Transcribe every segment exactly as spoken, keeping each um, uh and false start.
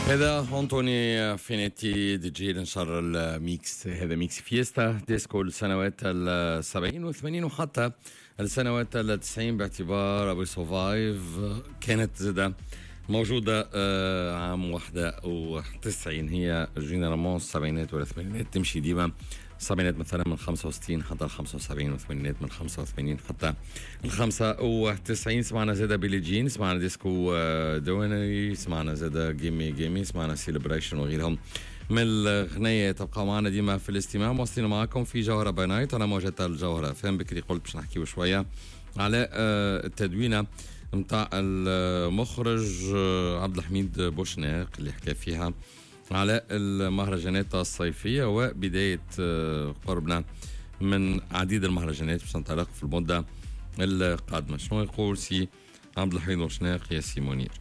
هذا أنطوني فينيتي دي جي نشر ال mix، هذا mix fiesta disco السنوات السبعين والثمانين وحتى السنوات التسعين، باعتبار I Will Survive كانت زادة موجودة عام واحدة وتسعين. هي généralement السبعينات والثمانينات تمشي ديما، السبعينات مثلا من خمسة وستين حتى الخمسة وسبعين، والثمانينات من خمسة وثمانين حتى الخمسة وتسعين. سمعنا زادة Billie Jean، سمعنا ديسكو دوينري، سمعنا زادة Gimme Gimme، سمعنا Celebration وغيرهم من الغنية. تبقى معنا ديما في الاستماع، مواصلين معكم في جوهرة by night على موجة الجوهرة فهم. بكري قلت باش نحكيو شوية على التدوينة متاع المخرج عبد الحميد بوشناق اللي حكى فيها على المهرجانات الصيفية وبداية قربنا من عديد المهرجانات باش تنطلق في المدة القادمة. شنو يقول سي عبد الحميد بوشناق يا سي منير؟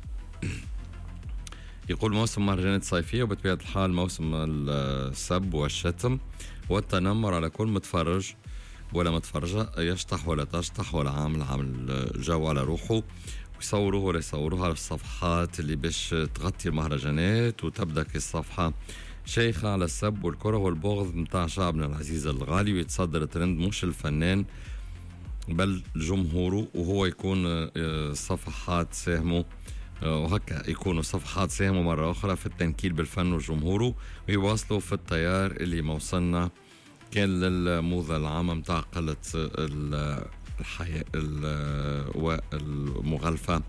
يقول موسم مهرجانات صيفية وبطبيعة الحال موسم السب والشتم والتنمر على كل متفرج ولا متفرجة، يشطح ولا تشطح ولا عامل عامل جو على روحه، ويصوروه ولا يصوروها على الصفحات اللي باش تغطي المهرجانات، وتبدأ الصفحة شيخة على السب والكره والبغض متاع شعبنا العزيز الغالي، ويتصدر ترند مش الفنان بل جمهوره، وهو يكون صفحات ساهموا وهكا يكونوا صفحات ساهموا مرة أخرى في التنكيل بالفن وجمهوره، ويواصلوا في التيار اللي ما وصلنا كان للموضة العامة متاع قلة الحياة والمغالفة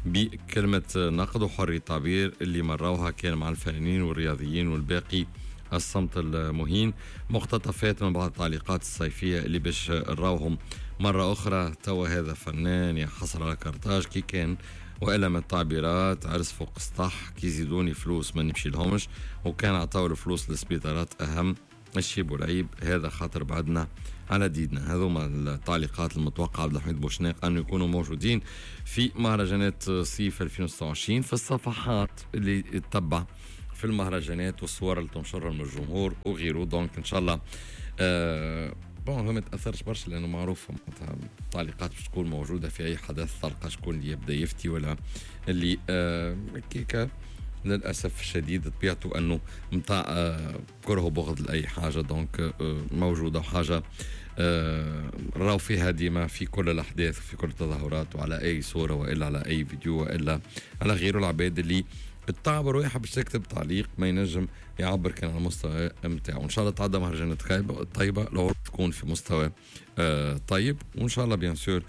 بكلمة نقد وحرية تعبير اللي مروها كان مع الفنانين والرياضيين والباقي الصمت المهين. مقتطفات من بعض التعليقات الصيفية اللي باش نراوهم مرة أخرى. توا هذا فنان يحصل على كارتاج كي كان وإلا من التعبيرات عرس فوق سطح كي يزيدوني فلوس ما نمشي لهمش، وكان عطاو الفلوس للسبيطارات أهم الشيب والعيب، هذا خاطر بعدنا على ديدنا. هذوما التعليقات المتوقعة عبد الحميد بوشناق أن يكونوا موجودين في مهرجانات صيف ألفين وستة وعشرين في الصفحات اللي تتبع في المهرجانات والصور اللي تنشرها من الجمهور وغيره. donc إن شاء الله آه bon هو ما تأثرش برشا لأنه معروف التعليقات باش تكون موجودة في أي حدث، تلقى شكون اللي يبدأ يفتي ولا اللي آه كيكا للأسف الشديد طبيعته أنه متاع كره وبغض لأي حاجة، donc موجودة وحاجة راو فيها ديما في كل الأحداث وفي كل التظاهرات وعلى أي صورة وإلا على أي فيديو وإلا على غيره. العباد اللي بتعبر ويحب باش تكتب تعليق ما ينجم يعبر كان على المستوى متاعه. وإن شاء الله تعدى مهرجانات طيبة، العروض تكون في مستوى طيب، وإن شاء الله bien sûr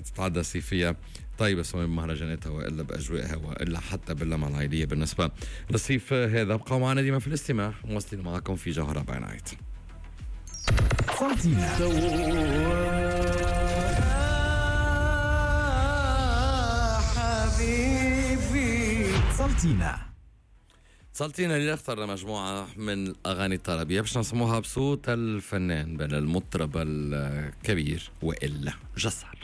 تتعدى صيفية طيبة سواء بمهرجاناتها وإلا بأجوائها وإلا حتى باللمة العائلية. بالنسبة للصيف هذا بقوا معنا ديما في الاستماع، مواصلين معكم في جوهرة by night. حبيبي سلطينا سلطينا اللي اخترنا مجموعة من الأغاني الطربية باش نسموها بصوت الفنان بل المطرب الكبير وإلا جسار.